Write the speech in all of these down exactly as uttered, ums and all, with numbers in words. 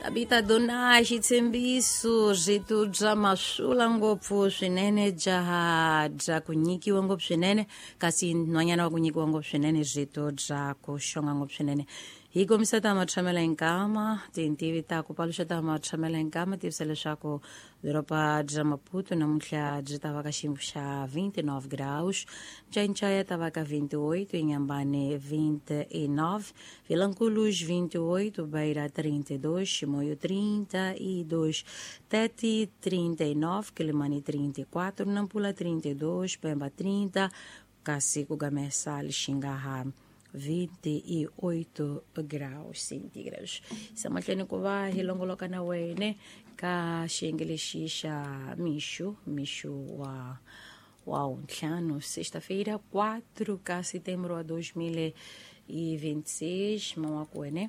Tabita Dona xitshembiso rito bya masula ngopfu swinene jaha bya ku nyikiwa ngopfu swinene kasi nhwanyana wa ku nyikiwa ngopfu swinene rito bya ku xonga ngopfu swinene. Hi kombisa ta matshamela hinkama tintivi ta ku paluxa ta matshamela hinkama tivisa leswaku doroba bya Maputo namuntlha byi ta va ka xiyimo xa vinte e nove graus, Ncaincai ta va ka vinte e oito, Inhambane vinte e nove, Vilanculos vinte e oito, Beira trinta e dois, Chimoio trinta e dois, Tete trinta e nove, Quelimane trinta e quatro, Nampula trinta e dois, Pemba trinta, kasi ku Gamesa Lixingaha vinte e oito graus centígrados. Samahlweni ku va hi longoloka na wene ka xiyenge lexi xa mixo mixo wa wa ntlhanu sexta-feira quatro ka setembro wa dois mil e vinte e seis mawaku wene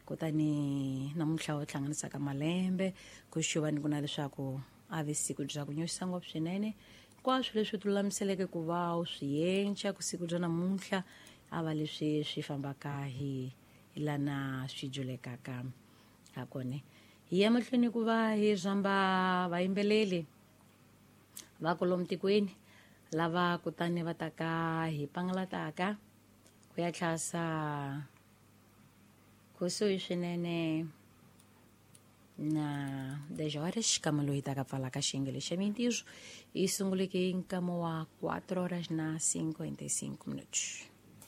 kutani namuntlha u hlanganisaka malembe ku xuvani ku na leswaku a vi siku bya ku nyoxisa ngopfu swinene hinkwaswo leswi ti lulamiseleke ku va u swi yenca ku siku bya namuntlha a va leswi swi fambaka hi lana swi julekaka ha kona. Hi ya mahlweni ku va hi rhamba vayimbeleli va kwalomu tikweni lava kutani va taka hi pangalataka ku ya tlhasa kusuhi swinene na dez horas kama loyi taka pfalaka xiyenge xa mintirho yi sunguleke hi nkama wa quatro horas na cinquenta e cinco minutos.